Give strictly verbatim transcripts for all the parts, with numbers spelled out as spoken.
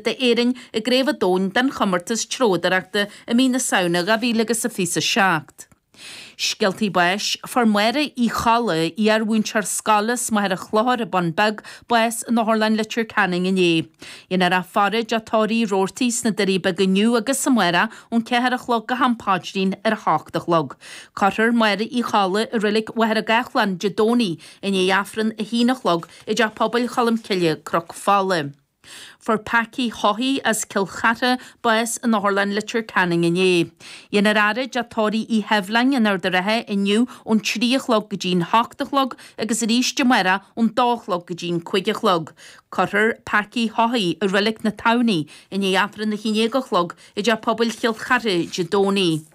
d'Éirinn i gCraobh an Domhain den chomórtas treabhdóireachta i mí na Samhna dhá mhíle agus a fiche a seacht. Scéaltaí báis, Fuair Máire Uí Cholla, iar-mhúinteoir scoile as Machaire Chlochair i Bun Beag, bás in Otharlann Leitir Ceanainn inné. Dhéanfar í a faire i dTeach Tórraimh Uí Robhartaigh sna Doirí Beaga inniu agus amárach ón ceathair a chlog go ham paidrín ar a hocht a chlog. Cuirfear Máire Uí Cholla i reilig Mhachaire Gathlán Dé Domhnaigh i ndiaidh Aifreann a haon a chlog i dTeach Pobail Cholm Cille, Cnoc Fola. Fuair Packie Haughey as Cill Chartha bás in Otharlann Leitir Ceanainn inné. Dhéanfar a fhaire i dTeach Tórraimh Uí Sheibhleáin in Ard an Rátha inniu ón trí a chlog go dtí'n hocht a chlog agus arís amárach ón dó a chlog go dtí'n cúig a chlog. Cuirfear Packie Haughey i Reilig na Tamhnaí i ndiaidh Aifreann a haon déag a chlog i dTeach Pobail Chill Chartha Dé Domhnaigh.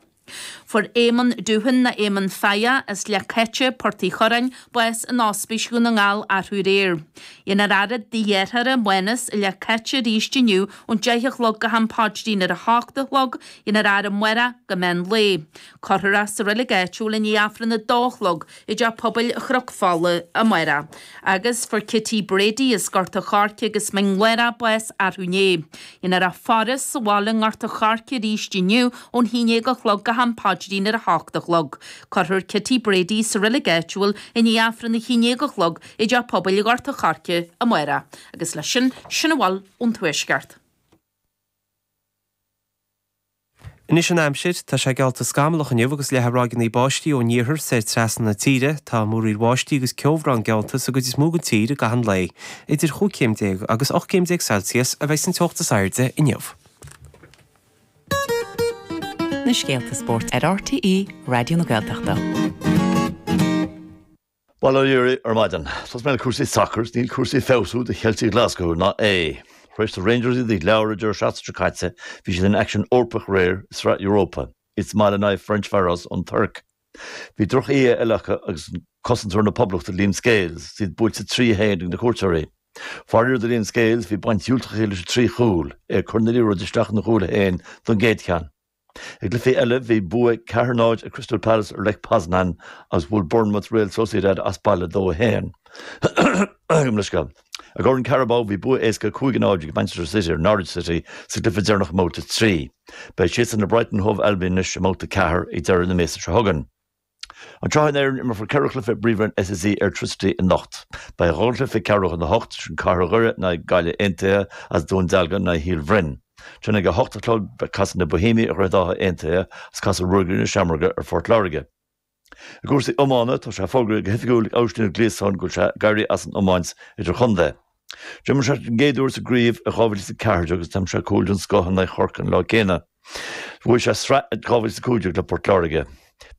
Fuair Éamonn Dúthan nó Éamonn Faia as Leac Caite, Port Uí Churráin, bás in Ospís Dhún na nGall arú aréir. Dhéanfar a fhaire i dtigh a dhearthára, Mánas, i Leac Caite arís inniu ón deich a chlog go ham paidrín ar a hocht a chlog, dhéanfar a fhaire amárach go meán lae. Cuirfear é sa reilig áitiúil i ndiaidh Aifreann a dó a chlog i dTeach Pobail Chnoc Fola amárach. Agus fuair Kitty Brady as Gort a' Choirce agus Mín Lárach bás arú inné. Dhéanfar a faire sa bhaile i nGort a' Choirce arís inniu ón haon déag a chlog go ham paidrín ar a hocht a chlog. Cuirfear Kitty Brady sa reilig áitiúil i ndiaidh Aifreann a haon déag a chlog i dTeach Pobail Ghort a' Choirce amárach. Agus leis sin, sin a bhfuil ón Tuaisceart. Anois an aimsir, tá sé geallta scamallach inniu agus leathadh ráigeanna báistí ón iarthar soir trasna na tíre. Tá múraíl bháistí agus ceobhrán geallta sa gcuid is mó den tír i gcaitheamh an lae. Idir chúig chéim déag agus ocht gcéim déag Celsius a bheidh an teocht is airde inniu. Na scéalta spóirt ar RTÉ Raidió na Gaeltachta. Bail ó Dhia oraibh ar maidin. Tosóidh mé le cúrsaí sacair, níl cúrsaí ag feabhsú do Cheiltigh Ghlaschú ná é. Tar éis do Rangers iad a ghleadh an deireadh seachtaine seo caite, bhí siad in aicsean Eorpach aréir i Sraith Europa, iad sa mbaile in aghaidh Ferencvaros ón Tuirc. Bhí droch-oíche eile acu agus cosantóir na Poblachta Liam Scales is iad buailte trí a haon ag na cuairteoirí. Faraor do Liam Scales, bhí baint dhiúltach aige leis an trí chúl, é ag cur na liathróide isteach ina chúl féin don gcéad cheann. I gcluichí eile, bhí bua ceathair náid ag Crystal Palace ar Lech Poznan agus bhuail Bournemouth Real Sociedad as baile dó a haon. I gCorn Carabao bhí bua éasca cúig a náid ag Manchester City ar Norwich City sa gcluiche deireanach i mbabhta trí. Beidh siadsan le Brighton Hove Albion anois i mbabhta ceathair ag deireadh na míosa seo chugainn. Anseo in Éirinn, imreofar ceithre chluiche i bPríomhroinn SSE Airtricity anocht. Beidh dhá chluiche ag ceathrú chun a hocht, sin Cathair Dhoire in aghaidh Gaillimh Aontaithe agus Dún Dealgan in aghaidh Shíol Bhroin. Ansin ag a hocht a chlog beidh casfaidh na Boihéamaigh ar Dhroichead Átha Aontaithe agus casfaidh Ruagairí na Seamróige ar Phort Láirge. I gcúrsaí iomána, tá sé fógraithe go hoifigiúil ag Oisín Ó Gliasáin go bhfuil sé ag éirí as an iomáint idirchontae. D'imir sé den gcéad uair sa gcraobh i dhá mhíle is a ceathair déag agus d'aimsigh sé cúl den scoth in aghaidh Chorcaí an lá céanna. Bhuaigh sé sraith i dhá mhíle is a cúig déag le Port Láirge.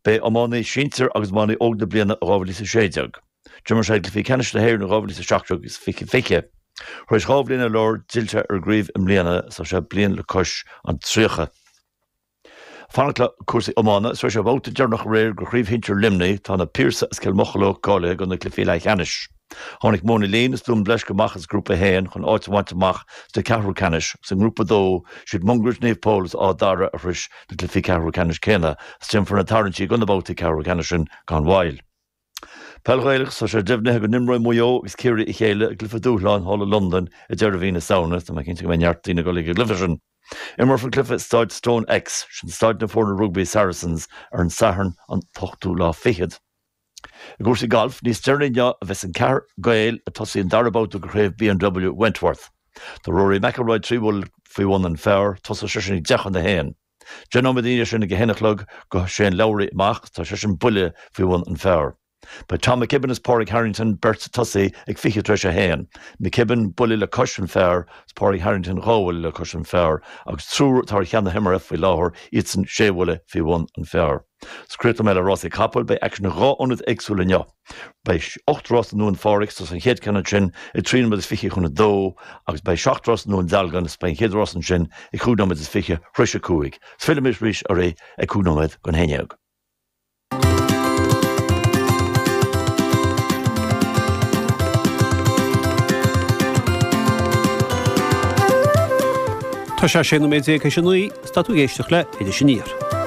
B'é iománaí sinsir agus iománaí óg na bliana i dhá mhíle is a sé déag. D'imir sé i gcluichí ceannais na hÉireann i dhá mhíle is a seacht déag agus fiche fiche. Tar éis dhá bhliain ar lár, d'fhill sé ar an gcraobh i mbliana is tá sé bliain le cois an tríocha. Fanacht le cúrsaí iomána, tar éis an babhta deireanach aréir de Chraobh Shinsir Luimnigh, tá na Piarsaigh as Cill Mocheallóg cáilithe do na cluichí leathcheannais. Tháinig Móin na Líon is Dún Bleisce amach as Grúpa a haon chun áit a bhaint amach sna ceathrú ceannais agus i nGrúpa a dó, siad Mungairit, Naomh Pól agus Áth Dara a shrois na cluichí ceathrú ceannais céanna agus déanfar na tarraingtí do na babhtaí ceathrú ceannais sin gan mhoill. Peil Ghaelach, Tá sé deimhnithe go n-imreoidh Maigh Eo agus Ciarraí a chéile i gcluiche dúshláin thall i Londain ag deireadh mhí na Samhna. Tá mé cinnte go mbeidh neart daoine ag dul ag an gcluiche sin. Imreofar an cluiche i Staid StoneX, sin staid na foirne rugbaí Saracens, ar an Satharn an t-ochtú lá fichead. I gcúrsaí gailf, níos deireanaí inniu a bheas an ceathrar Gael ag tosaí an dara babhta de Chraobh BMW Wentworth. Tá Rory McIlroy trí bhuille faoi bhun an phar, tosóidh seisean ag deich chun a haon. Deich nóiméad ina dhiaidh sin ag a haon a chlog gabhfaidh Shane Lowry amach, tá seisean buille faoi bhun an phar. Beidh Tom McKibbin is Pádraig Harrington beirt ag tosaí ag fiche tar éis a haon, McKibbin buille le cois an phar is Pádraig Harrington dhá bhuille le cois an phar agus triúr atá ar cheann na himeartha faoi láthair, iadsan sé bhuille faoi bhun an phar. Is críochnóidh mé le rásaí capall, beidh aicsean i dhá ionad éagsúil inniu. Beidh ocht rás i nDún Phádraig, tosóidh an chéad ceann ansin ag trí nóiméad is fiche chun a dó agus beidh seacht rás i nDún Dealgan is beidh an chéad rás ansin ag cúig nóiméad is fiche tar éis a cúig. Is fillfidh mé arís oraibh ag cúig nóiméad don haon dhéag. Tá sé sé nóiméad déag théis a naoi, is tá tú ag éisteacht le Iris Aniar.